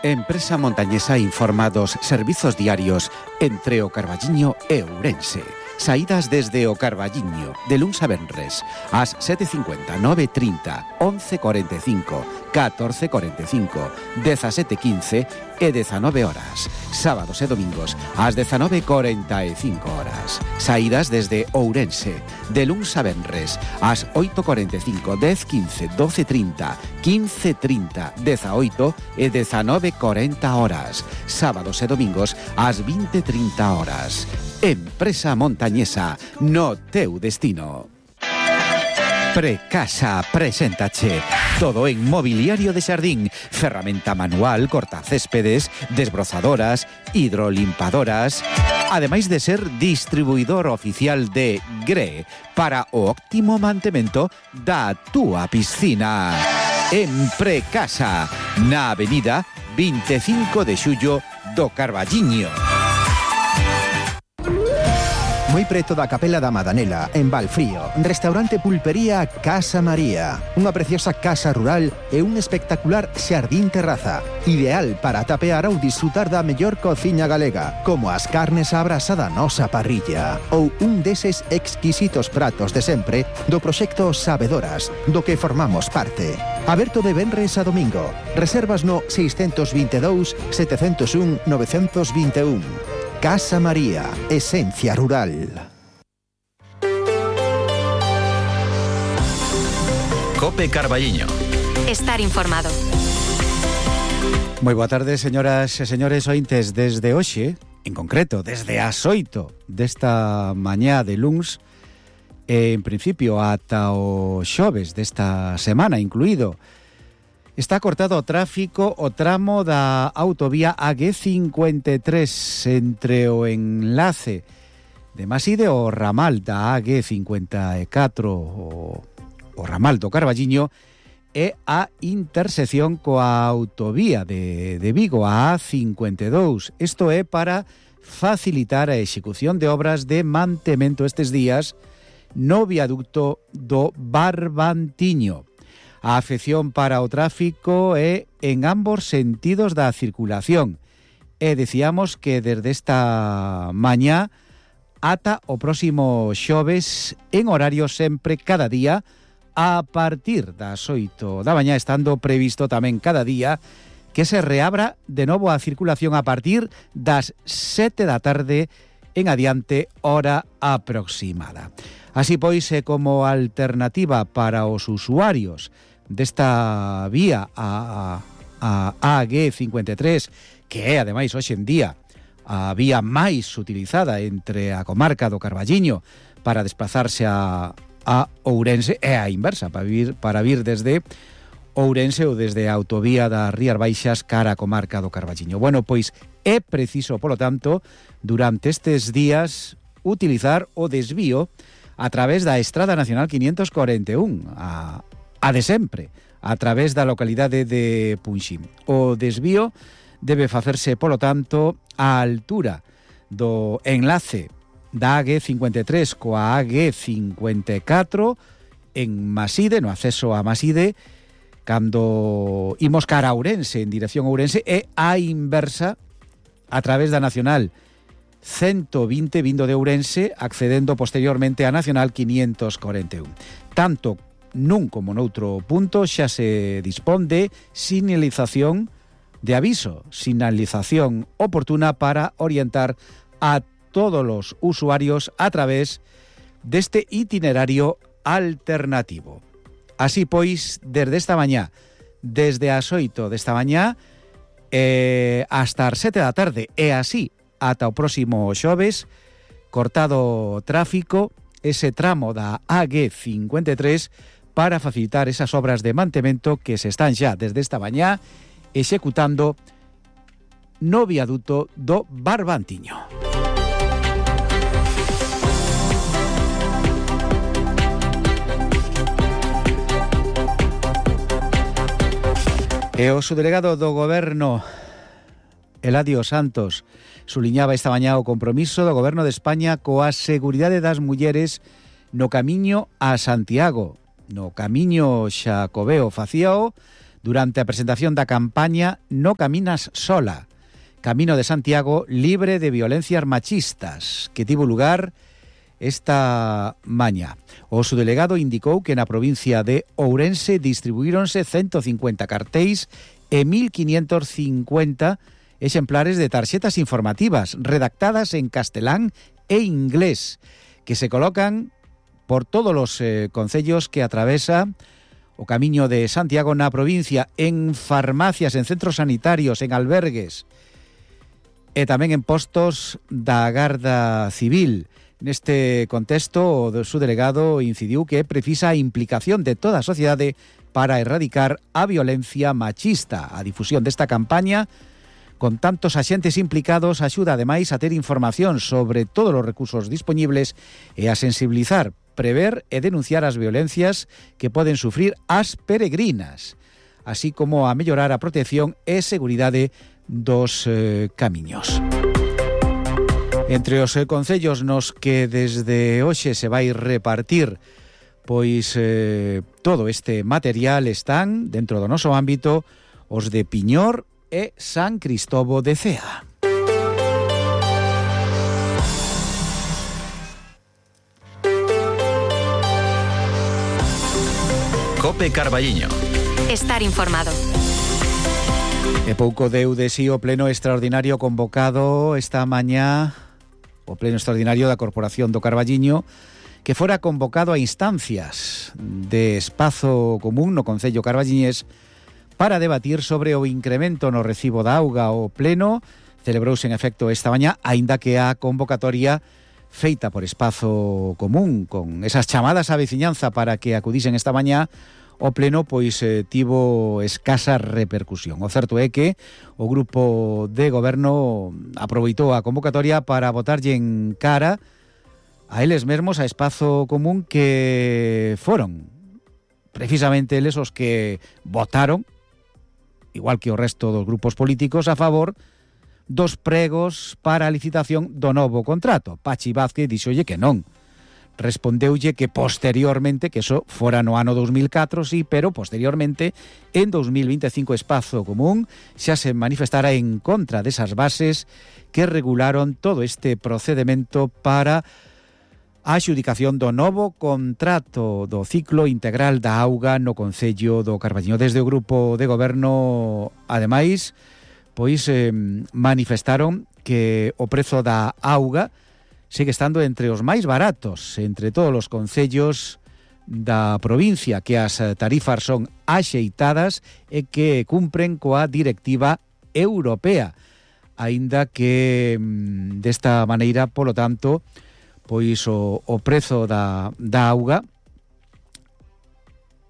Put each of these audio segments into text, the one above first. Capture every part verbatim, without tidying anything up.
Empresa montañesa informa dos servizos diarios entre o Carballiño e Ourense. Saídas desde o Carballiño, de luns a venres, ás sete e cincuenta, nove e trinta, once e cuarenta e cinco, catorce e cuarenta e cinco, dezasete e quince e dezanove horas. Sábados e domingos, ás dezanove e cuarenta e cinco horas. Saídas desde Ourense, de luns a venres, ás oito e cuarenta e cinco, dez e quince, doce e trinta, quince e trinta, dezaoito e dezanove e cuarenta horas. Sábados e domingos, ás vinte e trinta horas. Empresa montañesa, no teu destino. Precasa preséntache todo en mobiliario de xardín, ferramenta manual, cortacéspedes, desbrozadoras, hidrolimpadoras, ademais de ser distribuidor oficial de Gre para o óptimo mantemento da túa piscina. En Precasa, na avenida vinte e cinco de xullo do Carballiño. Moi preto da Capela da Madanela, en Valfrío, restaurante pulpería Casa María. Unha preciosa casa rural e un espectacular xardín terraza. Ideal para tapear ou disfrutar da mellor cociña galega, como as carnes á brasa da nosa parrilla. Ou un deses exquisitos pratos de sempre do proxecto Sabedoras, do que formamos parte. Aberto de venres a domingo. Reservas no seiscentos vinte e dous, setecentos un, novecentos vinte e un. Casa María, esencia rural. Cope Carballiño. Estar informado. Moi boa tarde, señoras e señores ointes. Desde hoxe, en concreto, desde as oito desta mañá de luns, en principio ata o xoves desta semana incluído, está cortado o tráfico o tramo da autovía A G cincuenta e tres entre o enlace de Maside o ramal da A G cincuenta e catro o, o ramal do Carballiño e a intersección coa autovía de, de Vigo a A cincuenta e dous. Isto é para facilitar a execución de obras de mantemento estes días no viaducto do Barbantiño. A afección para o tráfico é en ambos sentidos da circulación. E decíamos que desde esta mañá ata o próximo xoves en horario sempre cada día a partir das oito da mañá, estando previsto tamén cada día que se reabra de novo a circulación a partir das sete da tarde en adiante, hora aproximada. Así pois, é como alternativa para os usuarios desta vía a, a, a A G cincuenta e tres, que é, ademais, hoxe en día a vía máis utilizada entre a comarca do Carballiño para desplazarse a, a Ourense, e a inversa, para vir, para vir desde Ourense ou desde a autovía das Rías Baixas cara a comarca do Carballiño. Bueno, pois é preciso, polo tanto, durante estes días utilizar o desvío a través da Estrada Nacional quinientos cuarenta e un, a a de sempre, a través da localidade de Punxín. O desvío debe facerse, polo tanto, á altura do enlace da A G cincuenta e tres coa A G cincuenta e catro en Maside, no acceso a Maside, cando imos cara a Ourense, en dirección a Ourense, e a inversa a través da Nacional ciento vinte vindo de Ourense, accedendo posteriormente a Nacional quinientos cuarenta e un. Tanto nun como noutro punto xa se dispón de sinalización de aviso, sinalización oportuna para orientar a todos os usuarios a través deste itinerario alternativo. Así pois, desde esta mañá, desde as oito desta mañá eh, hasta as sete da tarde, e así ata o próximo xoves, cortado o tráfico ese tramo da A G cincuenta e tres para facilitar esas obras de mantemento que se están xa desde esta mañá executando no viaduto do Barbantiño. E o subdelegado do Goberno, Eladio Santos, suliñaba esta mañá o compromiso do Goberno de España coa seguridade das mulleres no camiño a Santiago. No camiño Xacobeo facíao durante a presentación da campaña No caminas sola, Camino de Santiago libre de violencias machistas, que tivo lugar esta mañá. O subdelegado indicou que na provincia de Ourense distribuíronse ciento cincuenta cartéis e mil quinientos cincuenta exemplares de tarxetas informativas redactadas en castelán e inglés, que se colocan por todos os eh, concellos que atravesa o Camiño de Santiago na provincia, en farmacias, en centros sanitarios, en albergues e tamén en postos da Garda Civil. Neste contexto, o subdelegado incidiu que precisa a implicación de toda a sociedade para erradicar a violencia machista. A difusión desta campaña, con tantos axentes implicados, axuda ademais a ter información sobre todos os recursos disponibles e a sensibilizar, prever e denunciar as violencias que poden sufrir as peregrinas, así como a mellorar a protección e seguridade dos eh, camiños. Entre os eh, concellos nos que desde hoxe se vai repartir pois eh, todo este material están, dentro do noso ámbito, os de Piñor e San Cristobo de Cea. Cope Carballiño. Estar informado. E pouco deu de si o pleno extraordinario convocado esta mañá, o pleno extraordinario da Corporación do Carballiño, que fora convocado a instancias de espazo común no Concello carballiñés para debatir sobre o incremento no recibo da auga. O pleno celebrouse en efecto esta mañá, aínda que a convocatoria feita por espazo común, con esas chamadas á veciñanza para que acudisen esta mañá, o pleno pois eh, tivo escasa repercusión. O certo é que o grupo de goberno aproveitou a convocatoria para botarlle en cara a eles mesmos, a espazo común, que foron precisamente eles os que votaron, igual que o resto dos grupos políticos, a favor dos pregos para a licitación do novo contrato. Pachi Vázquez dixolle que non. Respondeulle que posteriormente, que eso fora no ano dos mil catro, sí, pero posteriormente, en dos mil veinticinco, Espazo Común xa se manifestara en contra desas bases que regularon todo este procedemento para a adxudicación do novo contrato do ciclo integral da auga no Concello do Carballiño. Desde o grupo de goberno, ademais, pois eh, manifestaron que o prezo da auga sigue estando entre os máis baratos entre todos os concellos da provincia, que as tarifas son axeitadas e que cumpren coa directiva europea, aínda que desta maneira, polo tanto, pois o, o prezo da, da auga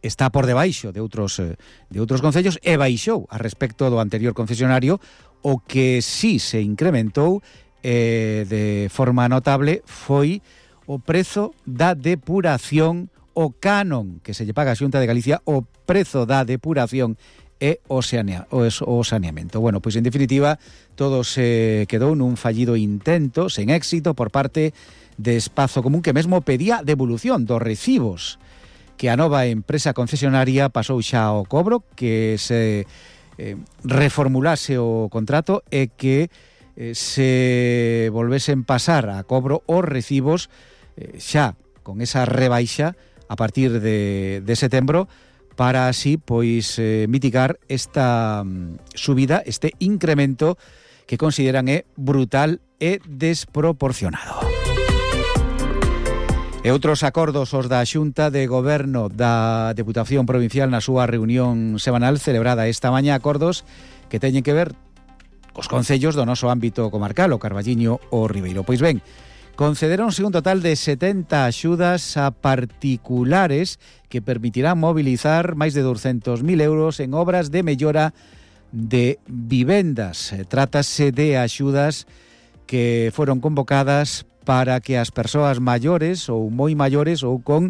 está por debaixo de outros de outros concellos e baixou a respecto do anterior concesionario. O que sí se incrementou eh, de forma notable foi o prezo da depuración, o canon que se lle paga a Xunta de Galicia, o prezo da depuración e o, sanea, o, o saneamento. Bueno, pois en definitiva todo se quedou nun fallido intento sen éxito por parte de Espazo Común, que mesmo pedía devolución dos recibos que a nova empresa concesionaria pasou xa ao cobro, que se eh, reformulase o contrato e que eh, se volvesen pasar a cobro os recibos eh, xa con esa rebaixa a partir de, de setembro, para así pois eh, mitigar esta um, subida, este incremento que consideran é brutal e desproporcionado. E outros acordos os da Xunta de Goberno da Deputación Provincial na súa reunión semanal celebrada esta mañá, acordos que teñen que ver cos concellos do noso ámbito comarcal, o Carballiño ou Ribeiro. Pois ben, concederonse un total de setenta axudas a particulares que permitirán mobilizar máis de douscentos mil euros en obras de mellora de vivendas. Trátase de axudas que foron convocadas para que as persoas maiores ou moi maiores ou con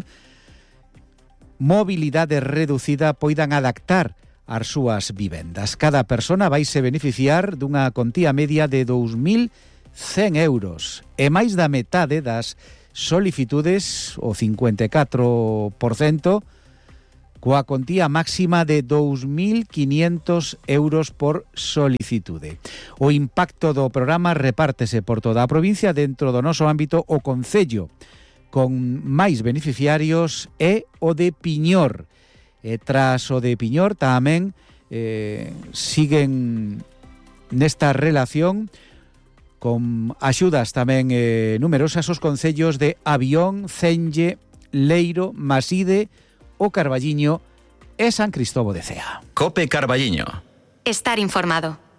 mobilidade reducida poidan adaptar as súas vivendas. Cada persona vaise beneficiar dunha contía media de dous mil cen euros e máis da metade das solicitudes, o cincuenta e catro por cento, coa contía máxima de dous mil quinientos euros por solicitude. O impacto do programa repártese por toda a provincia. Dentro do noso ámbito, o concello con máis beneficiarios é o de Piñor. E tras o de Piñor tamén eh, siguen nesta relación con axudas tamén eh, numerosas os concellos de Avión, Celle, Leiro, Maside, o Carballiño e San Cristóbal de Cea. Cope Carballiño. Estar informado.